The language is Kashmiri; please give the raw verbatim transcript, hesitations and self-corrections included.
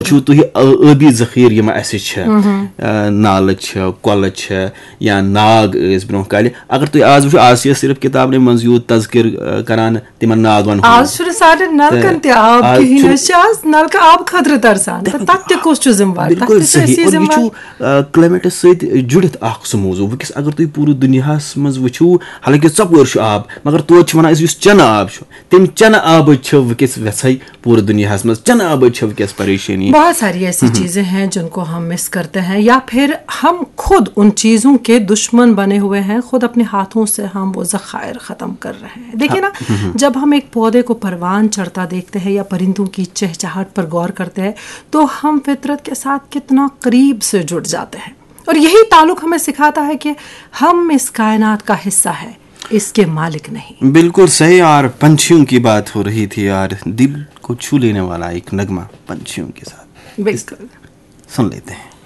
چھُو تُہۍ ٲ- ٲبی ذخیرٕ یِم اَسہِ چھِ، آ، نالہٕ چھِ، کۄلہٕ چھِ، یا ناگ ٲسۍ برونٛہہ کالہِ۔ اگر تُہۍ آز وٕچھِو، آز چھِ أسۍ صرف کِتابنٕے منٛز یوٗت تذکر، آ، کران تِمن ناگن ہُنٛد۔ آز چھُنہٕ سارنٕے نلکن تہِ آب کِہیٖنۍ، أسۍ چھِ آز نلکہٕ آب خٲطرٕ ترسان، تہٕ تَتھ تہِ کُس چھُ ذمہٕ وار؟ تَتھ تہِ چھِ أسۍ ذمہٕ وار۔ کلایمیٹس سۭتۍ جُڑِتھ اکھ سُہ موضوع۔ وٕنکیٚس اگر تُہۍ پوٗرٕ دُنیاہس منٛز وٕچھِو، حالانکہِ ژۄپٲرۍ چھُ آب، مگر توتہِ چھِ ونان أسۍ یُس چنہٕ آب چھُ، تمہِ چنہٕ آبٕچ چھِ وٕنکیٚس ویژھے پوٗرٕ دُنیاہس منٛز، چنہٕ آبٕچ چھِ وٕنکیٚس پریشٲنی۔ بہت ساری ایسی چیزیں ہیں جن کو ہم مس کرتے ہیں، یا پھر ہم خود ان چیزوں کے دشمن بنے ہوئے ہیں، خود اپنے ہاتھوں سے ہم وہ ذخائر ختم کر رہے ہیں۔ دیکھیے نا، جب ہم ایک پودے کو پروان چڑھتا دیکھتے ہیں یا پرندوں کی چہچہاہٹ پر غور کرتے ہیں، تو ہم فطرت کے ساتھ کتنا قریب سے جڑ جاتے ہیں۔ اور یہی تعلق ہمیں سکھاتا ہے کہ ہم اس کائنات کا حصہ ہیں، اس کے مالک نہیں۔ بالکل صحیح یار، پنچھیوں کی بات ہو رہی تھی یار، دل کو چھو لینے والا ایک نغمہ پنچھیوں کے ساتھ۔ بالکل۔ سن لیتے ہیں۔